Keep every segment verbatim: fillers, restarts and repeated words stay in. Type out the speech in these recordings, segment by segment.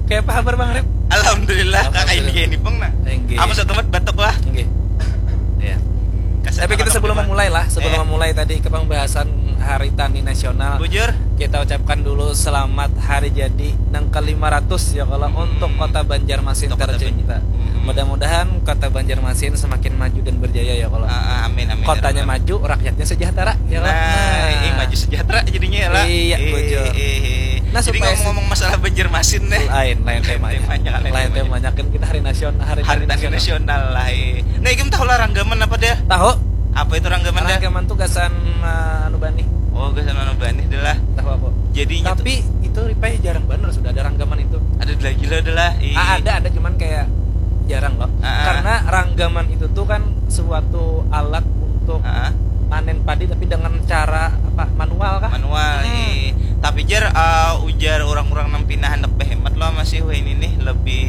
Kayak apa kabar Bang Rip? Alhamdulillah, kakak ini kayak ini pun nah. Apa satu mat batuk lah. Iya. Tapi kita sebelum memulai lah, sebelum eh. memulai tadi ke pembahasan Hari Tani Nasional. Bujur. Kita ucapkan dulu selamat hari jadi nang ke lima ratus ya kalau hmm. untuk Kota Banjarmasin untuk tercinta. Hmm. Mudah-mudahan Kota Banjarmasin semakin maju dan berjaya ya kalau. Uh, amin amin. Kotanya ya, maju, rakyatnya sejahtera ya. Nah, nah. Eh, maju sejahtera jadinya ya lah. Iya, eh, bujur. Eh, eh. Nah, jadi ngomong-ngomong masalah Banjarmasin nih. Lain, lain temanya. temanya lain temanya kan kita hari nasional, hari, hari nasional. nasional lah. Eh. Nah, ikam tahu lah ranggaman apa dia? Tahu. Apa itu ranggaman dia? Ranggaman tuh gasan uh, anu bani. Oh, gasan anu bani adalah. Tahu aku. Jadinya tapi tuh... itu ripai jarang banget sudah ada ranggaman itu. Ada lagi lah adalah. Eh. Ah, ada ada cuman kayak jarang loh. Ah, ah. Karena ranggaman itu tuh kan suatu alat untuk ah. panen padi tapi dengan cara apa manual kah? Manual. Hmm. Eh. Tapi jar uh, ujar orang-orang nang pina hendak behemat loh masih wah ini nih lebih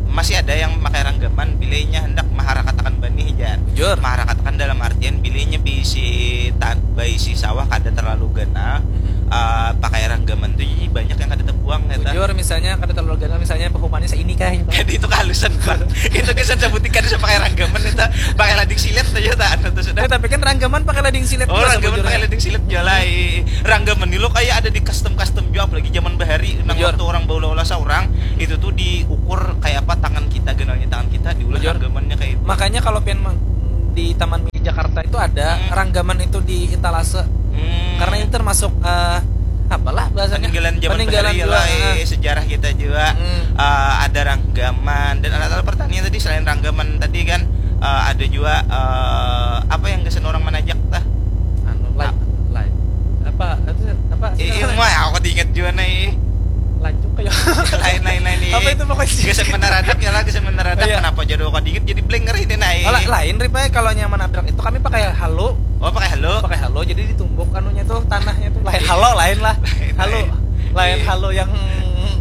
masih ada yang memakai ranggaman bilainya hendak maharakatakan banih jar. Jujur. Maharakatakan dalam artian bilainya bisi tan baisi sawah kada terlalu ganal. Hmm. Uh, pakai ranggaman tuh jadi banyak yang kada terbuang ya. Jujur misalnya kada terlalu ganal misalnya pehumannya seini kah gitu. Jadi itu kehalusan kan. Itu kesan sebutin kada bisa pakai ranggaman itu pakai lading silet aja tak anu tuh sudah. Ya, tapi kan ranggaman pakai lading silet. Oh, ranggaman pakai lading silet jalai. Ranggaman ini lo kayak ada di custom custom juga apalagi zaman bahari nang waktu orang bawa olah seorang hmm. itu tuh diukur kayak apa tangan kita ganalnya tangan kita diulah ranggamannya kayak itu. Makanya kalau pian di Taman Mini Jakarta itu ada hmm. ranggaman itu di etalase hmm. karena ini termasuk uh, apalah bahasanya peninggalan zaman peninggalan juga, lah, eh, sejarah kita juga hmm. uh, ada ranggaman dan alat-alat pertanian tadi selain ranggaman tadi kan uh, ada juga uh, apa yang kesan orang menajak tah anu lain lain apa itu apa sih eh, iya aku diingat juga nih lanjut kayak lain lain lain nih apa itu pokoknya geser menaradak ya lah geser menaradak iya. Kenapa jadi kok dikit jadi blank ngeri deh nah oh, lain ripe kalau nyaman abrak itu kami pakai halo oh pakai halo pakai halo jadi ditumbuk anunya tuh tanahnya tuh lain halo lain lah halo lain iya. Halo yang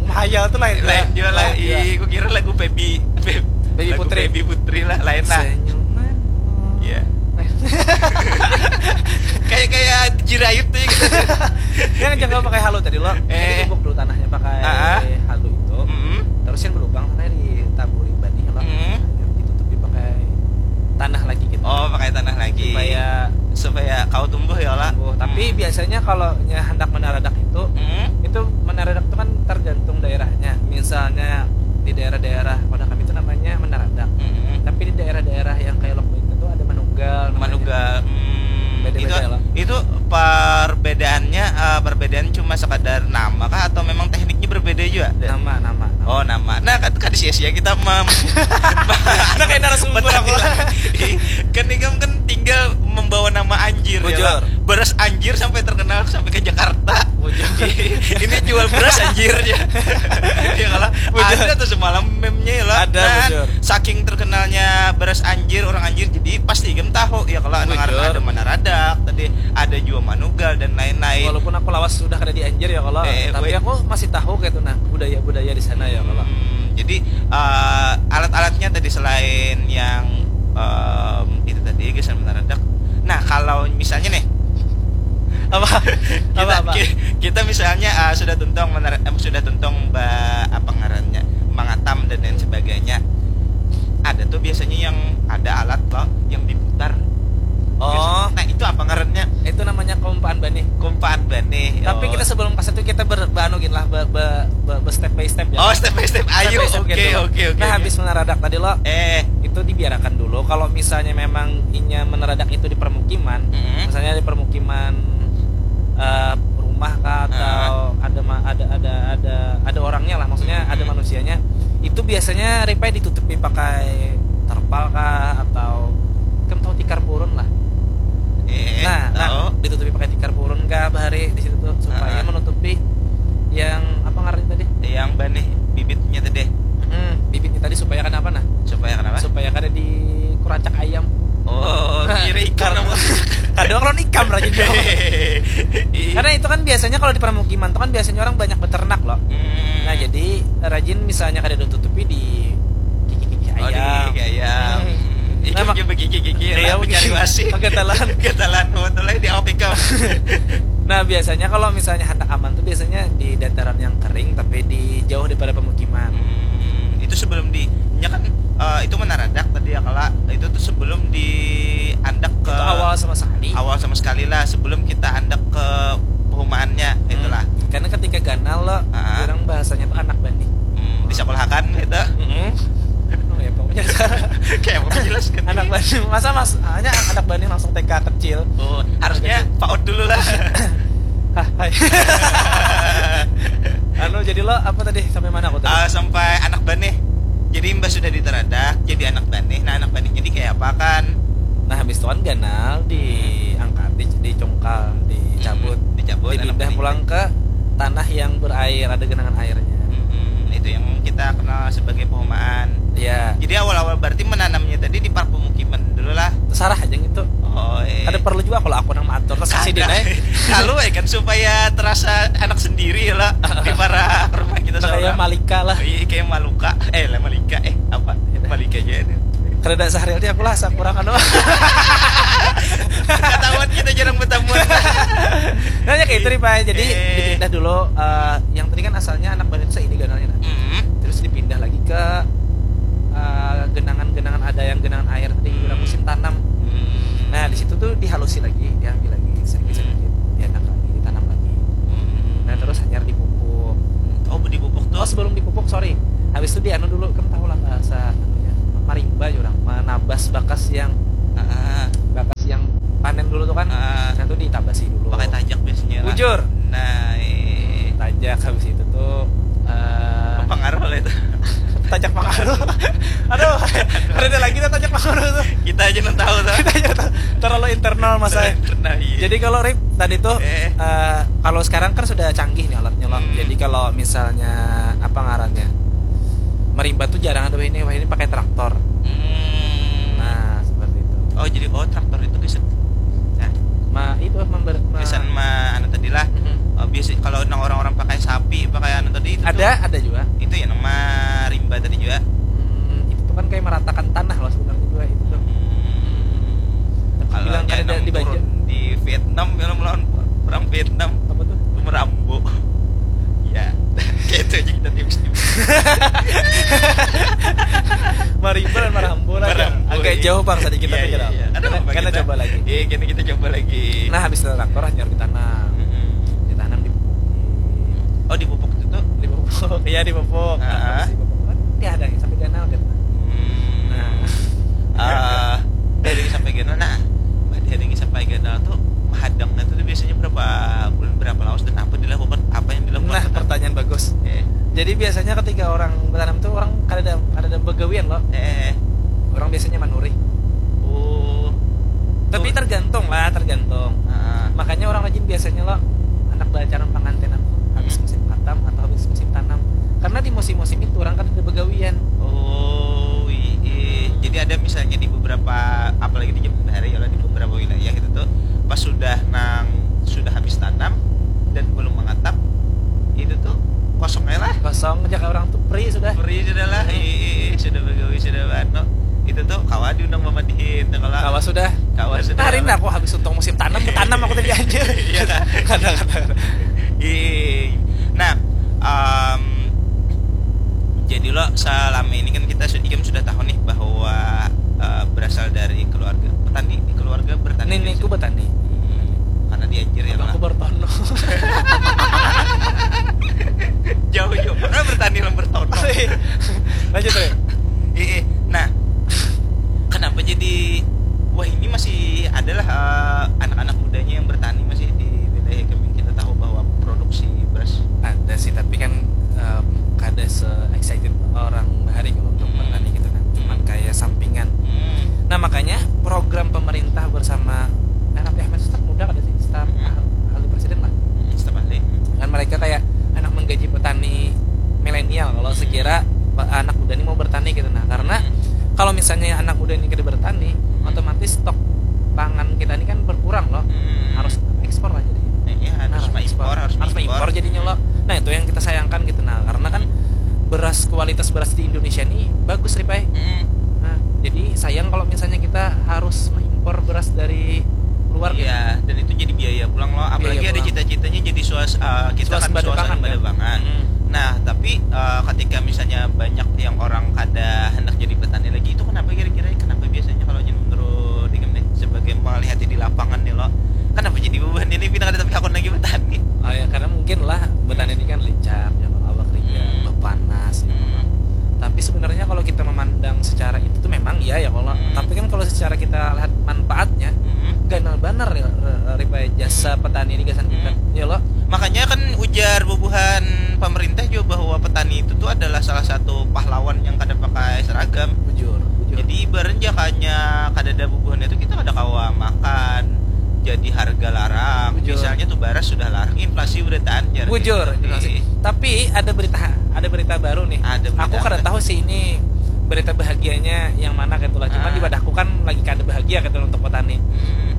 hayal tuh lain lain juga lah iya aku kira lagu baby baby putri baby putri lah lain lah senyuman iya kayak kayak jirayut tuh gitu kan jangan pakai halo tadi lo eh. Tumbuk dulu tanahnya pakai uh-huh. Halo itu mm-hmm. Terus yang berlubang tanahnya ditaburi banih lo mm-hmm. Ditutupi pakai tanah lagi gitu oh pakai tanah lagi supaya supaya kau tumbuh ya lah tumbuh tapi hmm. Biasanya kalau hendak menaradak itu hmm. Itu menaradak itu kan tergantung daerahnya misalnya di daerah-daerah pada kami itu namanya menaradak hmm. Tapi di daerah-daerah yang kayak lokal itu tuh ada manugal manugal hmm. Beda-beda itu, lah itu perbedaannya uh, perbedaan cuma sekadar nama kah atau memang tekniknya berbeda juga nama nama, nama. Oh nama nah kan kan sia-sia kita mem nah kayak narasumber aku kan ini kan tinggal membawa nama anjir ya Bujur. Ya beras anjir sampai terkenal sampai ke Jakarta Bujur. Ini jual beras anjir ya ya kalau ada tuh semalam meme-nya ya lah ada nah, saking terkenalnya beras anjir orang anjir jadi pasti game tahu ya kalau ada ada menaradak tadi ada juga manugal dan lain-lain walaupun aku lawas sudah ada di anjir ya kalau eh, tapi wait. Aku masih tahu kayak tuh nah budaya-budaya di sana ya kalau hmm, jadi uh, alat-alatnya tadi selain yang um, itu tadi gesan menaradak nah kalau misalnya nih apa kita, apa, apa? Kita misalnya uh, sudah tuntung mener, eh, sudah tuntung ba, apa ngarannya mengatam dan lain sebagainya ada tuh biasanya yang ada alat loh yang diputar oh nah itu apa ngarannya itu namanya kompaan banih kompaan banih tapi oh. Kita sebelum kasih itu kita ber, ber, anu gini lah ber, ber, ber, ber step by step ya oh step by step ayo oke oke oke nah habis menaradak tadi lo eh itu dibiarkan dulu kalau misalnya memang inya menaradak itu di permukiman mm-hmm. Misalnya di permukiman uh, rumah kah atau uh. Ada ada ada ada ada orangnya lah maksudnya mm-hmm. Ada manusianya itu biasanya ripai ditutupi pakai terpal kah atau kamu tahu tikar purun lah eh, nah, nah ditutupi pakai tikar purun kah bahari di situ tuh supaya uh. Menutupi yang apa ngarannya tadi yang banih bibitnya tadi hmm, bibitnya tadi supaya kenapa nah supaya kenapa supaya kada di kuracak ayam oh kira ikan apa kadang kalau ikam rajin karena itu kan biasanya kalau di permukiman itu kan biasanya orang banyak beternak loh hmm. Nah jadi rajin misalnya kada ditutupi di gigi-gigi ayam oh, di gigi ayam hmm. Nah, mak- begigi-gigi ya, mencari wasi kegetalan kegetalan betul di Afrika Nah, biasanya kalau misalnya handak aman tuh biasanya di dataran yang kering tapi di jauh daripada pemukiman. Hmm, itu sebelum di nya kan eh, itu menaradak tadi ya kala itu tuh sebelum di andak ke Itu awal sama sekali. Awal sama sekali lah sebelum kita andak ke perumahannya itulah. Karena ketika ganal lo, Ah. orang bahasanya tuh anak bani. Hmm, disekolahakan gitu. Oh ya pokoknya Kayak mau jelas kan. Anak bani, masa mas hanya anak bani langsung T K kecil. Oh, harusnya PAUD dulu lah. Hah, hai. Anu, jadi lo apa tadi, sampai mana aku tadi? Ah, sampai anak bani. Jadi mbah sudah ditaradak jadi anak bani. Nah, anak bani jadi kayak apa kan? Nah, habis itu kan ganal diangkat, di, dicungkal, dicabut, Hmm, dicabut, anak dipindah bani. Pulang ke tanah yang berair, ada genangan airnya. Hmm, itu yang kita kenal sebagai perumahan. Ya, Jadi awal-awal berarti menanamnya tadi di park pemukiman dulu lah. Terserah aja gitu. Oh, eh. Ada perlu juga kalau aku nang mengatur, terus kasih Kada. Dinai. Lalu eh kan supaya terasa anak sendiri lah di para rumah kita Kayak seorang. Malika lah. Iya, kayak Maluka. Eh, lah Malika. Eh, apa? Malika aja itu. Kada ada Sahril dia, aku lah sakura kan. Ketahuan kita jarang bertamuan. Nah, ya kayak itu nih, Pak. Jadi Eh. dipindah dulu, eh, yang tadi kan asalnya anak bani itu seini ganalnya, nah. Hmm. Terus dipindah lagi ke eh, genangan-genangan, ada yang genangan air di Hmm. musim tanam. Hmm. Nah, di situ tuh dihalusi lagi, diambil lagi sedikit-sedikit, dianak lagi, ditanam lagi. Hmm. Nah, terus hanyar dipupuk. Oh, dipupuk tuh. Oh, sebelum dipupuk, sorry. Habis itu dianu dulu, kamu tahu lah bahasa anunya, marimba ya orang, menabas bakas yang Ah, bakas yang panen dulu tuh kan. Ah. Nah, tuh ditabasi dulu. Pakai tajak biasanya lah. Bujur. Nah, eh. Tajak, habis itu tuh eh, Pengaruh lah itu. Tajak pengaruh. Aduh, ada lagi tuh tajak pengaruh tuh. Kita aja nang tahu tuh. Kita aja tahu. Terlalu internal, Mas, saya. Pernah, iya. Jadi kalau Rip tadi tuh Eh. eh, kalau sekarang kan sudah canggih nih alatnya loh. Hmm. Jadi kalau misalnya apa ngarannya, marimba tuh jarang ada ini, wah ini pakai traktor. Hmm. Nah, seperti itu. Oh, jadi oh traktor itu bisa. Nah, Ma itu member ma- biasanya mah anu tadi lah. Mhm. Oh, biasa kalau nang orang-orang pakai sapi, pakai anu tadi itu Ada, ada juga. Tuh. Itu ya nama rimba tadi juga. Hmm, itu tuh kan kayak meratakan tanah loh sebenarnya juga itu tuh. Hmm. Kalau Bilang nya kada nang dibaca. Turun di Vietnam, film lawan perang Vietnam, Apa tuh? merambo. Ya, kayak itu aja kita tips-tips. Marimba dan Marambo lah. Marambo, Agak iya. Jauh, Bang, sedikit, Iya, tapi iya, tidak apa. iya. Ada Karena, apa karena kita? Coba lagi. Iya, kita, kita coba lagi. Nah, habis itu traktor hanyar ditanam. Mm-mm. Ditanam di pupuk. Oh, dipupuk itu tuh. Dipupuk. Iya, dipupuk. Nah, Ah. habis dipupuk kan dihadangi sampai ganal kan. Hmm. Nah. Eh, dihadangi sampai ganal. Nah, dihadangi sampai ganal tuh hadangnya tuh biasanya berapa bulan, berapa lawas, dan apa dilakukan, apa yang dilakukan? Nah, pertanyaan bagus. Eh, Jadi biasanya ketika orang bertanam tuh orang kada ada kada ada begawian loh. eh, Orang biasanya manuri. oh, Tapi tergantung lah, tergantung. Ah. Makanya orang rajin biasanya loh anak balacaran pangantenan tuh habis Hmm. musim katam atau habis musim tanam. Karena di musim-musim itu orang kada ada begawian. Oh, iya. Jadi ada misalnya di beberapa, apalagi di Jember hari ya, di beberapa wilayah itu tuh pas sudah nang sudah habis tanam dan belum mengatap, itu tuh kosong aja lah. Kosong aja kayak orang tuh free sudah. Free sudah lah. Iya, iya, iya, sudah begawi, sudah anu. Itu tuh kawa diundang mamadihin, kalau Kawa sudah. Kawa sudah. Hari ini aku habis untung musim tanam, tanam aku tadi aja. Iya. Kata-kata. Iya. Nah, em, jadi lo selama ini kan kita su- ikam sudah tahu nih bahwa eh, berasal dari keluarga petani, keluarga bertani. Nenekku bertani. Karena diajar ya. Aku Lah. bertono. Jauh jauh. Pernah bertani lah bertono. Lanjut, Re. Iya. Nah, kenapa jadi wah ini masih adalah eh, anak-anak mudanya yang bertani masih di wilayah kami, kita tahu bahwa produksi beras Ada sih, tapi kan em, kada se excited orang bahari kalau untuk Hmm. bertani gitu kan. Cuman kayak sampingan. Hmm. Nah, makanya program pemerintah bersama, nah, tapi Ahmed Staf muda kada sih, staf Hmm. ahli presiden lah. Hmm, staf ahli. Kan mereka kayak anak menggaji petani milenial kalau sekira pe- anak muda ini mau bertani gitu. Nah, karena Hmm. kalau misalnya anak muda ini kada bertani, Hmm. otomatis stok pangan kita ini kan berkurang loh. Hmm. Harus ekspor lah jadinya. Iya, harus Nah, mengimpor, harus harus mengimpor jadinya loh. Nah, itu yang kita sayangkan gitu. Nah, karena kan beras, kualitas beras di Indonesia ini bagus, Ripai. Hmm. Nah, jadi sayang kalau misalnya kita harus mengimpor beras dari keluar gitu. Iya, dan itu jadi biaya pulang loh. Apalagi Biaya ada pulang. Cita-citanya jadi suas, eh, kita kan Suasembada suasana pangan, kan? Badebangan. Hmm. Nah, tapi eh, ketika misalnya banyak yang orang kada hendak jadi petani lagi, itu kenapa kira-kira? Kenapa biasanya kalau jadi menurut ikam nih, sebagai melihati di lapangan nih loh, kenapa jadi beban ini pindah kada tapi hakun lagi petani? Oh ya, karena mungkin lah petani ini kan lincah ya, kalau awak kerja Hmm. panas ya, Hmm. Tapi sebenarnya kalau kita memandang secara itu tuh memang iya ya kalau. Hmm. Tapi kan kalau secara kita lihat manfaatnya, Hmm. ganal banar ya, re- riba jasa petani di gasan kita. Hmm. Ya lo. Makanya kan ujar bubuhan pemerintah juga bahwa petani itu tuh adalah salah satu pahlawan yang kada pakai seragam. Bujur, bujur. Jadi ibaratnya jakanya kada ada bubuhan itu kita kada kawa makan. Jadi harga larang. Bujur. Misalnya tuh baras sudah larang, inflasi udah taanjar. Bujur, Jadi, inflasi. Tapi ada berita ada berita baru nih. Ada berita Aku kada apa? Tahu sih ini berita bahagianya yang mana gitu lah. Cuma Ah. di wadahku kan lagi kada bahagia gitu untuk petani. Hmm.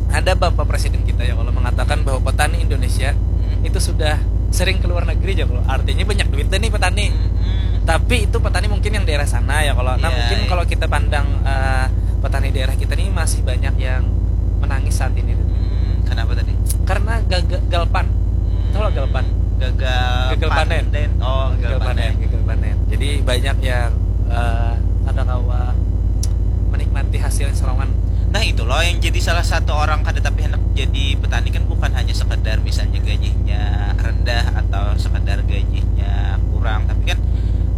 Ada bapak presiden kita ya kalau mengatakan bahwa petani Indonesia Hmm. itu sudah sering ke luar negeri aja kalau. Artinya banyak duit deh nih petani. Hmm. Tapi itu petani mungkin yang daerah sana ya kalau. Nah, Iya, mungkin iya. Kalau kita pandang eh, petani daerah kita nih masih banyak yang menangis saat ini. Hmm, kenapa tadi? Karena gagal galpan. Tahu lah galpan? Gagal, Gagal panen. Oh, gagal, Gagal panen, panen. Gagal panen. Jadi banyak yang eh, ada kawa menikmati hasil serongan. Nah, itu loh yang jadi salah satu orang kada tapi hendak jadi petani kan bukan hanya sekedar misalnya gajinya rendah atau sekedar gajinya kurang, tapi kan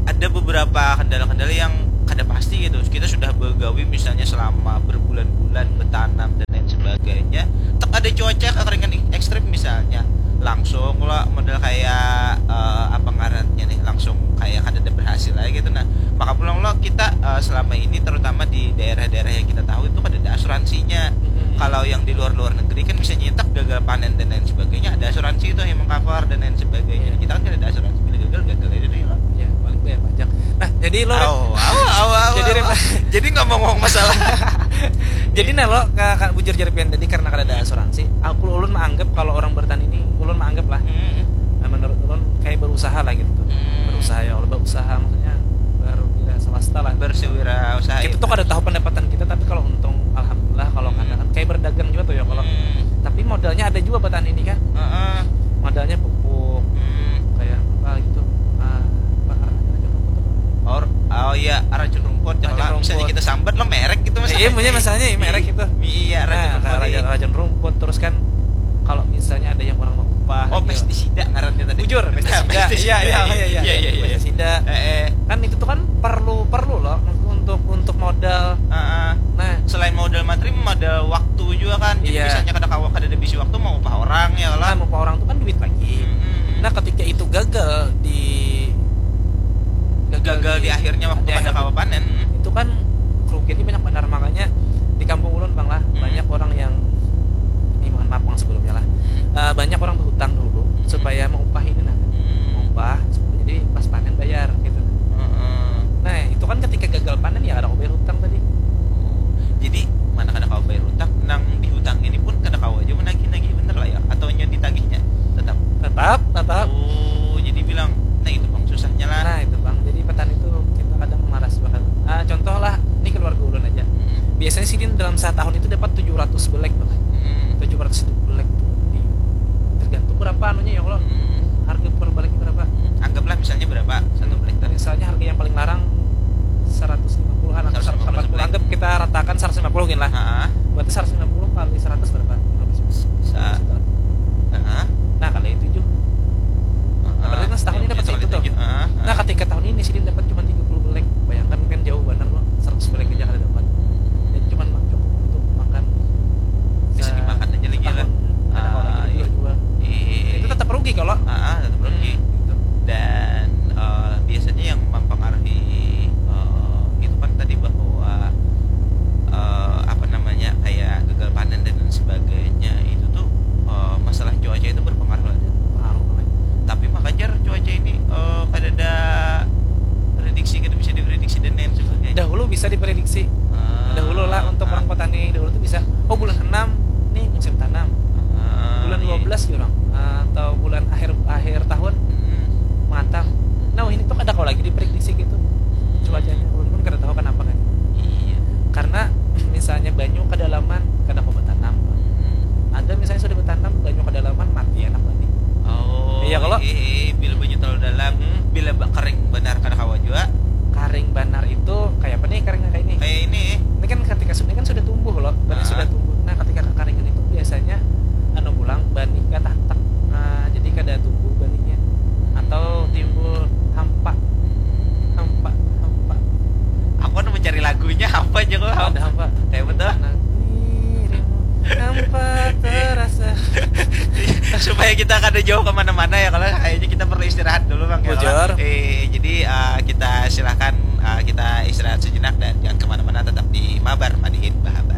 ada beberapa kendala-kendala yang kada pasti gitu. Kita sudah begawi misalnya selama berbulan-bulan, betanam dan lain sebagainya, tak ada cuaca kekeringan ekstrim misalnya, langsung lah model kayak eh, apa ngarannya nih, langsung kayak kada ada berhasil aja gitu. Nah, maka pulang lo kita eh, selama ini terutama di daerah-daerah yang kita tahu itu kada ada asuransinya. Hmm. Kalau yang di luar-luar negeri kan bisa nyetak gagal panen dan lain sebagainya, ada asuransi itu yang mengcover dan lain sebagainya. Iya. Kita kan kada ada asuransi, bila gagal gagal aja deh lo. Ya, paling bayar pajak. Nah, jadi lo Awa, awa, awa, awa, Jadi, awa. Rima- Jadi ngomong-ngomong masalah. Jadi nah lo ka, ka, bujur jari pian tadi karena kada ada asuransi. Aku ulun menganggap kalau orang bertani ini ulun menganggap lah. Hmm. Nah, menurut ulun kayak berusaha lah gitu tuh. Hmm. Berusaha ya Allah, berusaha maksudnya berwira swasta lah. Bersiwira usaha Kita itu. Tuh kada tahu pendapatan kita tapi kalau untung alhamdulillah, kalau Hmm. kada kan kayak berdagang juga tuh ya kalau. Hmm. Tapi modalnya ada juga petani ini kan. Heeh. Modalnya pupuk Hmm. kayak apa gitu. Ah, apa karena racun rumput apa? Or, oh iya, racun rumput. Racun Kalau misalnya rumput. Kita sambat lo merek gitu mas. Eh, iya, maksudnya masalahnya iya, merek gitu. Iya, racun Nah, rumput. kalau racun, racun rumput terus kan kalau misalnya ada yang orang mau upah Oh, gitu. Pestisida ngarannya tadi. Bujur, pestisida. Pestisida. Iya, iya, iya, iya. Iya, iya, iya. Pestisida. Eh, eh. Kan itu tuh kan perlu perlu loh untuk untuk modal. Heeh. Nah, Selain modal materi, modal waktu juga kan. Jadi Iya. Misalnya kada kawa, kada ada bisi waktu mau upah orang ya nah, lah. Upah orang tuh kan duit lagi. Hmm. Nah, ketika itu gagal di Gagal di akhirnya waktu di kada akhir- kawa panen. Itu kan kerugiannya banyak benar, makanya di kampung ulun bang lah Hmm. Banyak orang yang ini mohon maaf bang sebelumnya lah. Eh, banyak orang berhutang dulu Hmm. Supaya mengupah ini nah. Hmm. Mengupah, jadi pas panen bayar gitu. Heeh. Nah, itu kan ketika gagal panen ya ada bayar hutang tadi. Jadi mana kada kawa bayar hutang, nang dihutang ini pun kada kawa aja menagih-nagih bener lah ya, atau nya ditagihnya tetap. Tetap, tetap. Oh, jadi bilang, nah itu bang susahnya lah. Nah, itu bang. Jadi petani itu kita kadang malas banget. Ah, contoh lah, ini keluarga ulun aja. Hmm. Biasanya sidin dalam satu tahun itu dapat tujuh ratus belek bang. Hmm. Tujuh ratus belek tuh di, tergantung berapa anunya ya kalau Hmm. harga per beleknya berapa. Anggaplah misalnya berapa satu belek tadi. Misalnya harga yang paling larang seratus lima puluhan atau Seratus lima puluh seratus delapan puluh, sebelah. Anggap kita ratakan seratus lima puluh gini lah. Ah, Berarti seratus lima puluh kali seratus berapa? Berapa sih? Sa- ah, Nah, kali tujuh. ah, Berarti kan setahun ini yang dapat punya segitu sekali tuh. tujuh. Ah, ah. Nah, ketika tahun ini sidin dapat cuma tiga puluh belek. Bayangkan kan jauh benar loh. Seratus belek aja kada dapat. Dan cuma cukup untuk makan Bisa se- dimakan aja lagi lah. setahun. Ada kalau Ah, lagi iya. Jual. Iya. Itu tetap rugi kalau. Ah, ah, tetap rugi. Hmm, gitu. Dan eh, biasanya yang mempengaruhi eh, itu kan tadi bahwa eh, apa namanya, kayak gagal panen dan lain sebagainya itu tuh eh, masalah cuaca itu berpengaruh ada. Pengaruh banget. Tapi makanya cuaca ini eh, kada ada prediksi, kada bisa diprediksi dan lain sebagainya. Dahulu bisa diprediksi. Ah, Dahulu lah untuk ah. Orang petani dahulu tuh bisa. Oh, bulan enam nih musim tanam. Ah, Bulan iya. dua belas ya orang. Atau bulan akhir akhir tahun Hmm. matang. Nah, ini tuh kada kau lagi diprediksi gitu. Cuacanya ulun pun kada tahu kenapa kan. Iya. Karena misalnya banyu kedalaman kada kau bertanam. Bila banyu terlalu dalam, hmm, bila ba- kering banar kada kawa jua. Karing banar itu kayak apa nih, karing kayak ini? Kayak ini. Ini kan ketika su- ini kan sudah tumbuh loh, banar. Ah. Sudah tumbuh. Nah, ketika kekaringan itu biasanya anu pulang banih katatak. Nah, jadi kada tumbuh banihnya. Atau timbul hampa. Hampa, hampa. Aku kan mencari lagunya apa aja kok. Ada hampa. Kayak betul. Nah, hampa terasa. Supaya kita kada jauh kemana-mana ya, kalau kayaknya kita perlu istirahat dulu, Bang, ya, kalau. Bujur. Eh, jadi, eh, kita silahkan, eh, kita istirahat sejenak dan jangan kemana-mana, tetap di Mabar Madihin Bahabar.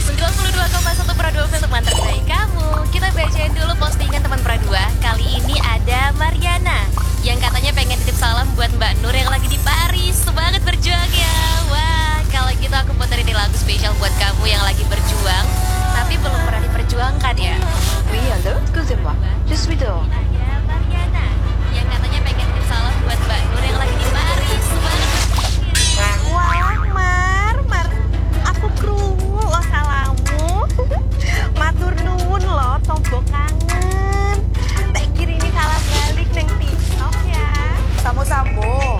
Sembilan puluh dua koma satu Pro dua Film terbaik kamu. Kita bacain dulu postingan teman Pro dua. Kali ini ada Mariana yang katanya pengen titip salam buat Mbak Nur yang lagi di Paris. Semangat berjuang ya. Wah, kalau gitu aku puterin nih lagu spesial buat kamu yang lagi berjuang tapi belum pernah diperjuangkan ya. Oui, allô, excusez-moi. Je suis dehors. Ada Mariana yang katanya pengen titip salam buat Mbak Nur yang lagi di Paris. Semangat. Wah, Mar, Mar, aku krungu lo salammu. Matur nuwun lo, tombo kangen. Tak kirini salam balik neng TikTok ya. Samu-samu.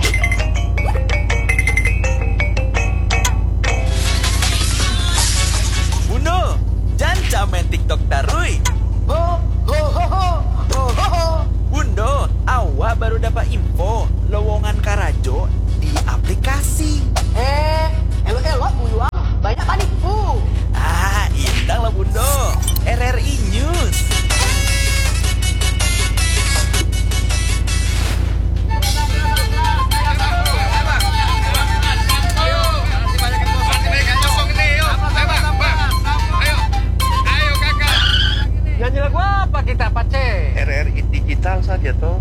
Bundo, janca main TikTok tarui. Ho, ho, ho, ho, ho, ho, ho. Bundo, awak baru dapat info lowongan karajo di aplikasi. Eh, elo-elo buyuang, banyak panipu. Ah, intang lah Bundo. R R I News. Nyanyi lagu apa kita, Pace? R R I Digital saja, toh.